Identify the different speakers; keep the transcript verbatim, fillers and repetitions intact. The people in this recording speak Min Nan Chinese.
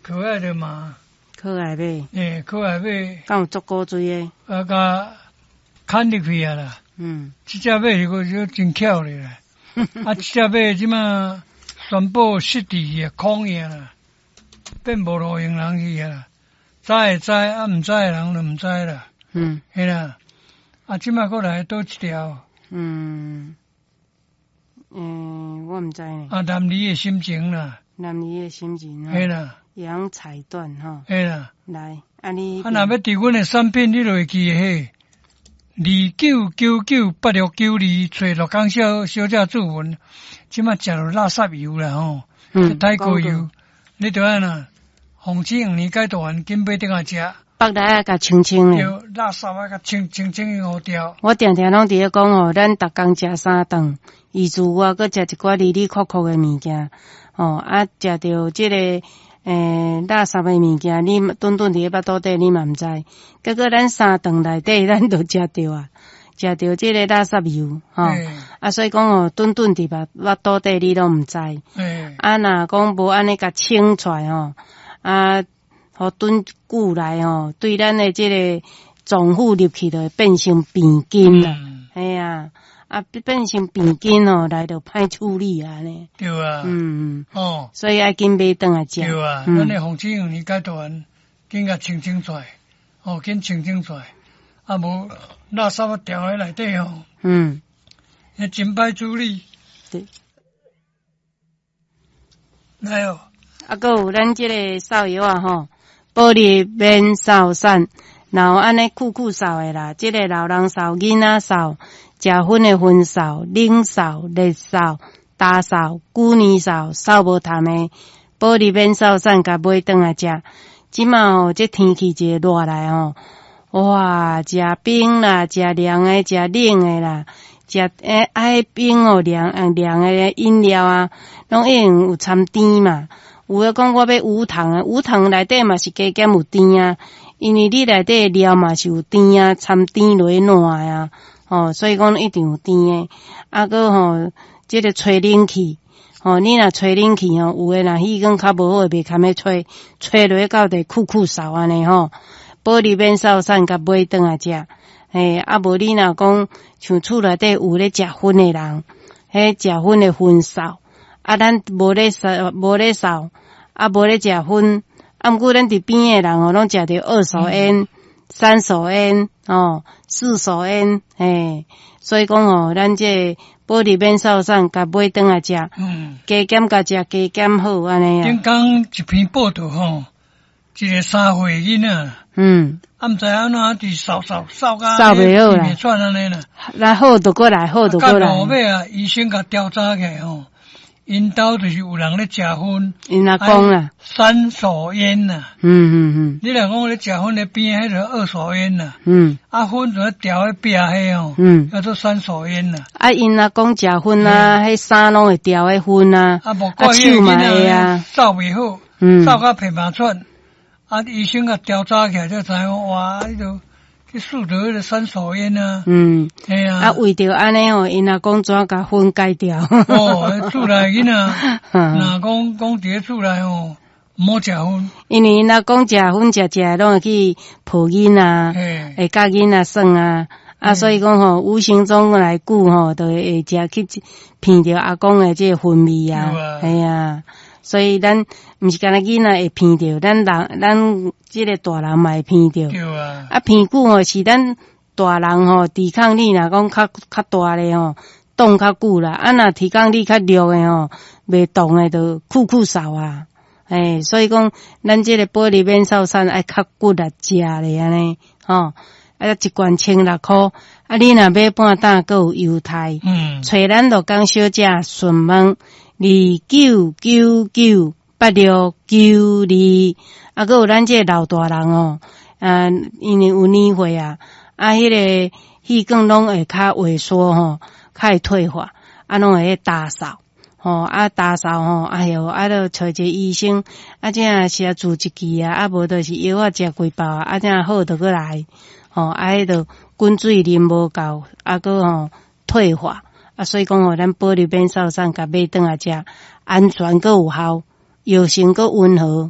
Speaker 1: 可愛的馬，
Speaker 2: 可愛馬，
Speaker 1: 欸，可愛馬，
Speaker 2: 敢有足古錐的？
Speaker 1: 啊，共牽入去啊啦。
Speaker 2: 嗯，
Speaker 1: 這隻馬是閣真巧咧啦。啊，這隻馬這馬宣布失智啊，空去啦，變無路用人去啊啦。知的知，啊，毋知的人就毋知啦。
Speaker 2: 嗯，
Speaker 1: 嘿啦。啊，這馬閣來佗一條？
Speaker 2: 嗯，嗯，我毋知呢。
Speaker 1: 啊，男兒的心情啦。
Speaker 2: 男兒的心情。
Speaker 1: 嘿啦。
Speaker 2: 養彩緞吼。
Speaker 1: 嘿啦。
Speaker 2: 來，啊你。
Speaker 1: 啊，若欲訂阮的產品，你就會記彼二九九九八六九二，揣鹿港小小姐注文。這馬食著垃圾油啦吼，
Speaker 2: 嗯，
Speaker 1: 地溝油，你著按怎？防止黃年解毒丸，緊買轉來食。
Speaker 2: 腹內愛共清清的。
Speaker 1: 對，垃圾愛共清清清予掉。
Speaker 2: 我定定攏佇咧講吼，咱逐工食三頓，伊自我閣食一寡哩哩扣扣的物件，吼啊，食著這个欸垃圾的物件，你頓頓佇咧腹肚底，你嘛毋知。結果咱三頓內底，咱都食著啊，食著這个垃圾油，吼啊，所以講吼，頓頓佇腹腹肚底，你攏毋知。啊，若講無按呢共清出來吼，啊，予轉久來吼，對咱的這個臟腑入去，就會變成病菌啦。嘿啊，啊變成病菌吼，來就歹處理啊呢。
Speaker 1: 對啊。
Speaker 2: 嗯。
Speaker 1: 哦。
Speaker 2: 所以愛緊買轉來食。
Speaker 1: 對啊，咱的防止黃連解毒丸，緊共清清出來，哦，緊清清出來，啊無垃圾掉佇內底吼。
Speaker 2: 嗯。
Speaker 1: 彼真歹處理。
Speaker 2: 對。
Speaker 1: 來哦。
Speaker 2: 啊，閣有咱這個掃藥仔吼，保利免掃散，若有按呢酷酷掃的啦，這個老人掃、囡仔掃、食薰的薰掃、冷掃、熱掃、焦掃、舊年掃、掃無痰的，保利免掃散，共買轉來食。這馬吼，這天氣一個熱來吼，哇，食冰啦，食涼的，食冷的啦，食欸愛冰哦，涼涼的飲料啊，攏已經有摻甜嘛。有的講我欲無糖的，無糖內底嘛是加減有甜啊，因為你內底料嘛是有甜啊，摻甜落去爛啊，吼，所以講一定有甜的。啊，閣吼，這個吹冷氣，吼，你若吹冷氣吼，有的若氣管較無好，袂堪欲吹，吹落去到底酷酷嗽按呢吼。保利免掃散，共買轉來食，嘿，啊無你若講像厝內底有咧食薰的人，彼食薰的薰掃。啊，咱無咧掃，無咧掃，啊，無咧食薰，啊，毋過咱佇邊的人哦，攏食著二手煙、三手煙、吼四手煙，嘿，所以講吼，咱這個保利免掃散，共買轉來食，加減共食，加減好按呢啊。
Speaker 1: 頂工一篇報道吼，一個三歲囡仔，
Speaker 2: 嗯，
Speaker 1: 啊，毋知按怎佇掃掃掃甲
Speaker 2: 掃袂好啦，
Speaker 1: 袂喘按呢啦，
Speaker 2: 來好就閣來，好就閣來。
Speaker 1: 到尾啊，醫生共調查起來吼。𪜶兜就是有人咧食薰，𪜶
Speaker 2: 阿公啦，
Speaker 1: 三手煙呐。
Speaker 2: 嗯嗯嗯。
Speaker 1: 你若講咧食薰咧邊彼個二手煙呐。
Speaker 2: 嗯。
Speaker 1: 啊，薰就調咧壁彼吼，
Speaker 2: 嗯，
Speaker 1: 叫做三手煙呐。
Speaker 2: 啊，𪜶阿公食薰啊，彼衫攏會調彼薰啊。
Speaker 1: 啊，無怪彼個囡仔掃袂好，掃甲鼻嘛喘。啊，醫生共調查起來才知影，哇，彼個。去試著彼個三手煙啊！
Speaker 2: 嗯，
Speaker 1: 嘿啊，
Speaker 2: 啊，為著按呢吼，𪜶阿公怎共薰戒掉？
Speaker 1: 哦，厝內囡仔，若講講佇咧厝內吼，毋好食薰。
Speaker 2: 因為𪜶阿公食薰食食，攏會去抱囡仔，會佮囡仔耍啊，啊，所以講吼，無形中來久吼，就會會食去鼻著阿公的這個薰味啊，嘿啊。所以咱毋是干焦囡仔會鼻著，咱人咱這個大人嘛會鼻著。
Speaker 1: 對啊。
Speaker 2: 啊，鼻久吼是咱大人吼抵抗力若講較較大咧吼，擋較久啦。啊，若抵抗力較弱的吼，袂擋的就酷酷嗽啊。欸，所以講咱這個保利免掃散愛較骨力食咧按呢，吼。啊，一罐千六箍。啊，你若買半擔，閣有優待。
Speaker 1: 嗯。
Speaker 2: 揣咱鹿港小姐詢問。二九九九八六九二，啊，閣有咱這個老大人哦，啊，因為有年歲啊，啊，彼個血管攏會較萎縮吼，較會退化，啊，攏會焦嗽，吼，啊，焦嗽吼，哎喲，啊，著揣一個醫生，啊，這是注一支啊，啊，無就是藥仔食幾包啊，啊，這好就閣來，吼，啊，彼著滾水啉無夠，啊，閣吼退化。啊，所以講吼，咱保利免掃散，共買轉來食，安全閣有效，藥性閣溫和。